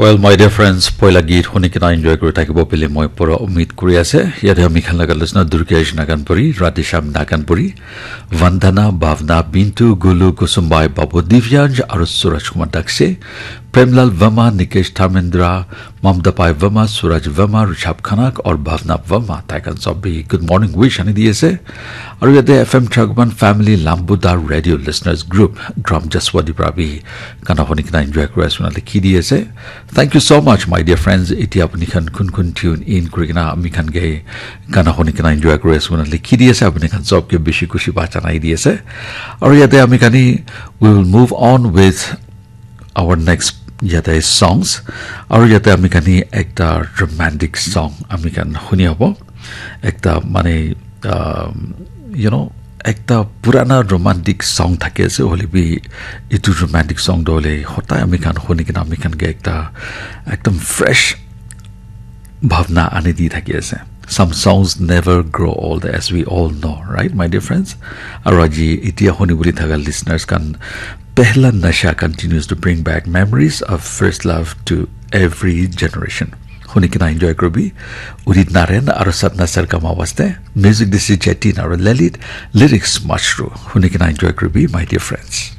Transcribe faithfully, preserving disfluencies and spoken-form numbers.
Well, my dear friends, poila geet huni kena enjoy kuri thakibo bili moi pura umid kuri ase. Yate ami khan laga listener Durgesh Naganpuri, Radhesham Naganpuri, Vandana, Bhavna, Bintu, Gulu, Kusumbai, Babu, Divyansh, aru Suraj Kumar Dakse, Premlal Verma, Nikesh Dharmendra, Mamta Pai Verma, Suraj Verma, Rishabh Khanak, aru Bhavna Verma. Tai khan sob bi good morning wish ani di ase. Aru yate F M Chakman Family Lambudar Radio Listeners Group, Gram Jaswadi pra bi gana huni kena enjoy kuri ase koina likhi di ase. Thank you so much, my dear friends. Iti apni khan kun kun tune in kuri kena ami khan ke gana huni kena enjoy kuri ase koina likhi di ase. Apni khan sob ke bishi khushi ba janai di ase. Aru yate ami khan ni, we will move on with our next yate songs. Aru yate ami khan ni ekta romantic song ami khan huni hobo. Ekta mane, um, you know, ekta purana romantic song thake ase, hoile bi itu romantic song do hoile hotai ami khan huni kena ami khan ke ekta ekdam fresh bhavna ani di thaki ase. Some songs never grow old, as we all know, right, my dear friends? Aru aji itia huni buli thaga listeners khan, Pehla Nasha continues to bring back memories of first love to every generation. Huni kena enjoy kuri bi. Udit Narayan aru Satna Sargama waste. Music this is Jatin aru Lalit. Lyrics Mashru. Huni kena enjoy kuri bi, my dear friends.